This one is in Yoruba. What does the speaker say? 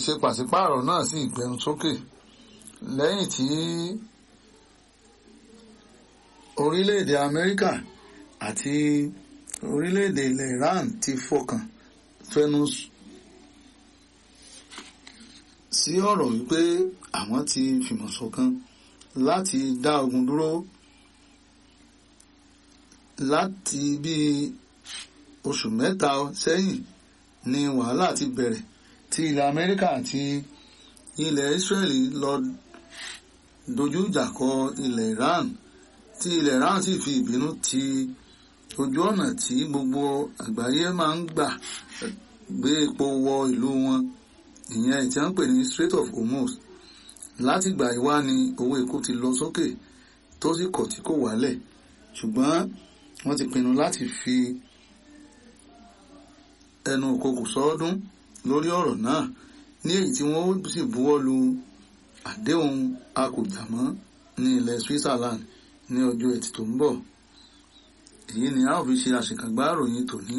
Ṣe pàṣípààrọ̀ náà sì gbẹnu sókè lẹ́yìn tí orílẹ̀-èdè Amẹ́ríkà àti orílẹ̀-èdè ilẹ̀ Iran ti fọkàn fẹnu sí ọ̀rọ̀ wípé àwọn ti fìmọ̀ ṣọ̀kan láti dá ogun dúró láti bí oṣù mẹ́ta sẹ́yìn ni wàhálà ti bẹ̀rẹ̀ tí ilẹ̀ Amẹ́ríkà àti ilẹ̀ Israeli lọ dojú ìjà kọ ilẹ̀ Iran, tí ilẹ̀ Iran sì fi ìbínú ti ojú ọ̀nà tí gbogbo àgbáyé máa ń gbà gbé epo wọ ìlú wọn, ìyẹn tí wọ́n ń pè ní Strait of Hormuz. Látìgbà yìí wá ni owó epo ti lọ sókè tó sì kọ̀ tí kò wálẹ̀, ṣùgbọ́n wọ́n ti pinnu láti fi ẹnu òkokò sọ́ọ́dún lórí ọ̀rọ̀ náà, ní èyí tí wọ́n sì buwọ́ lu àdéhùn akùjàmọ́ ní ilẹ̀ Switzerland ní ọjọ́ Ẹtì tó ń bọ̀. Èyí ni a ó fi ṣe àṣekágbá ìròyìn tòní.